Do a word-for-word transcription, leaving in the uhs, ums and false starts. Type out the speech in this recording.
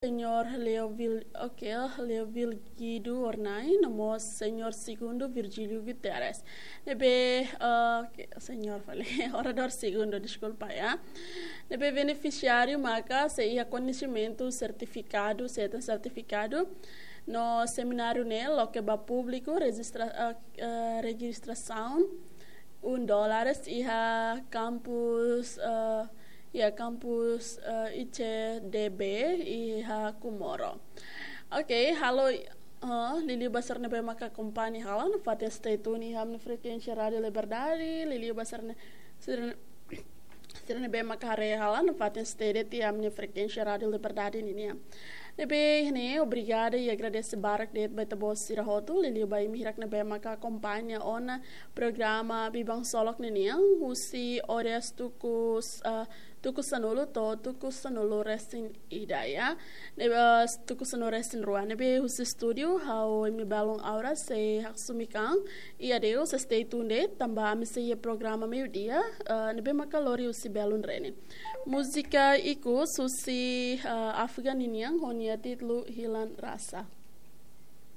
Señór Leo Vil, oke, Leo Vilgido Ornai, no mós Señór Segundo Virgílio Guterres. Ne'ebé, ah, oke, Señór fali, Oradór Segundo, deskulpa, ya. Ne'ebé benefisiáriu maka sei iha koñesimentu sertifikadu, sei hetan sertifikadu, no semináriu ne'e loke ba públiku, rejistra-, ah, ah, rejistrasaun, un dólares iha kampus, ah, iha kampus, ah, I C D B, iha Comoro. Oke, halo, ah, liuliu ba sira ne'ebé maka akompaña hela nafatin stay tune iha ami-nia frekuénsia Rádiu Liberdade, liuliu ba sira ne-, sira, sira ne'ebé maka haree hela nafatin stay de'it iha ami-nia frekuénsia Rádiu Liberdade ninian. Ne'ebé ne'e, obrigada i agradese barak de'it ba ita-boot sira hotu, liuliu ba imi hirak ne'ebé maka akompaña ona programa Biban Ksolok ninian, husi oras tuku s-, ah, tuku sanulu to'o tuku sanulu resin ida, ya. Ne'ebé, ah, tuku sanulu resin rua. Ne'ebé husi estúdiu, ha'u imi balun Aura sei haksolok an. I adeus, stay tuned, tanba ami sei iha programa meiudia, ah, ne'ebé maka lori husi belun Rene. Múzika ikus husi, ah, Afgan ninian, ho nia títulu Hilan Rasa.